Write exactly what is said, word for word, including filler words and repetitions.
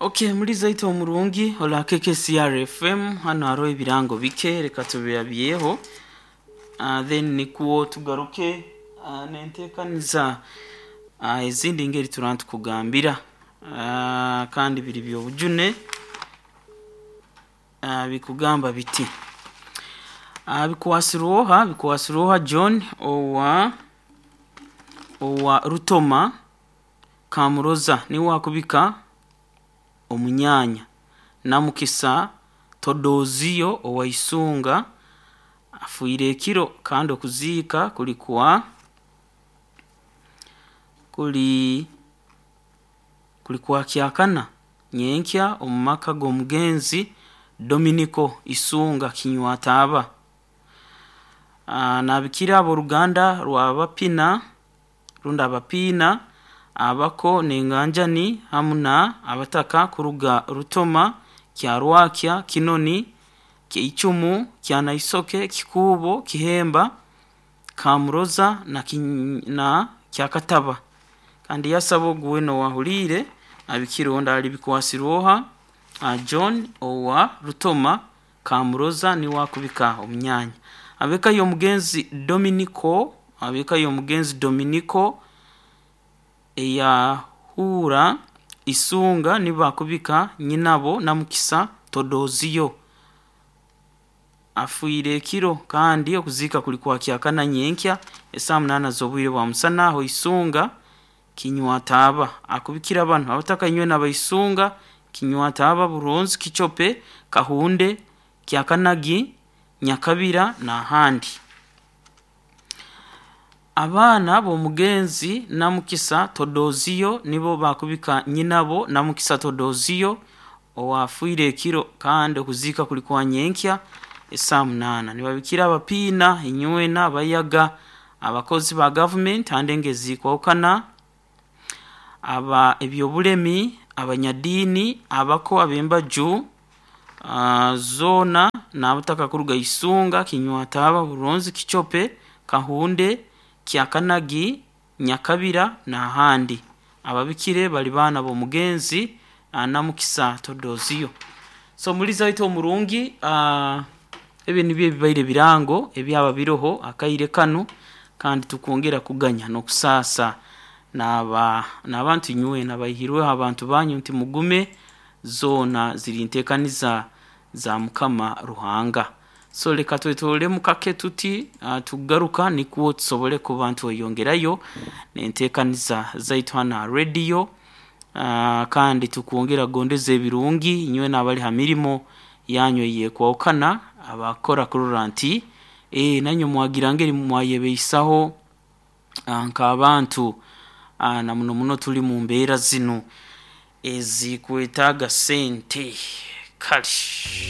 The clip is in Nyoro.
Okay, muri zaitu omurungi ola K K C R F M, hano hariho ebirango bike, reka tubirabyeho, uh, then nikuwo tugaruke uh, nenteekaniza uh, ezindi ngeri turaba tukugambira, uh, kandi biri byobujune, uh, bikugamba biti uh, bikwasirwoha bikwasirwoha John owa owa Rutoma Kamuroza, niwe akubika omunyanya Namukisa Todoziyo owa Isunga afiire ekiro, kandi okuziika kuli kwa kuli kuli kwa kyakana nyenkya omu maka g'omugenzi Dominiko Isunga Kinywataaba. Nabikira ab'oruganda rw'Abapina rundi Abapiina, abako n'enganjani, hamu na abataka kuruga Rutoma, Kyarwakya, Kinoni, Kyeicumu, Kyanaisoke, Kikuubo, Kihemba, Kamuroza na, na Kyakataba. Kandi yasaba ogu weena owaahuliire abikire ondi ali bikwasirwoha John owa Rutoma Kamuroza, niwe akubika omunyanya. Ab'eka y'omugenzi Dominiko, ab'eka y'omugenzi Dominiko eyahuura Isunga, nibo bakubika nyinabo Namukisa Todoziyo afiire ekiro, kandi okuziika kuli kwa kyakana nyenkya esaaha munaana z'obwire bwa musana aho Isunga Kinywataaba. Akubikira banu abataka inywena abaisunga, Kinywataaba, Buronzi, Kichope, Kahunde, Kyakanagi, Nyakabira n'ahandi. Abaana b'omugenzi Namukisa Todoziyo nibo bakubika nyinabo Namukisa Todoziyo owaafiire ekiro, kandi okuziika kuli kwa nyenkya esaaha munaana. Nibabikira abapiina inywena abayaga, abakozi ba gavumenti handi engezikwahukana, aba ebyobulemi, abanyadiini, abako ab'embaju uh, zoona n'abataka kuruga Isunga, Kinywataaba, Buronzi, Kichope, Kahunde, Kyakanagi, Nyakabira n'ahandi. Ababikire bali baana b'omugenzi Namukisa Todoziyo. So muliza waitu omurungi, uh, ebi nibyo ebibaire birango ebyaba biroho akaire kanu, kandi tukwongera kuganya n'okusaasa n'aba n'abantu inywena abaihirweho abantu banyu nti mugume, zoona ziri nteekaniza za Mukama Ruhanga. So leka twetolemu kake tuti, uh, tugaruka nikwo tusobole kuba ntweyongerayo n'enteekaniza zaitu hanu ha radio, uh, kandi tukwongera kugondeza ebirungi inywena abali ha mirimo yanyu eyekwahukana, abakora kurora nti e, nanywe mwagira ngeri mwayebeisaho uh, nk'abantu, uh, na muno muno tuli mu mbeera zinu ezikwetaaga sente. Kale.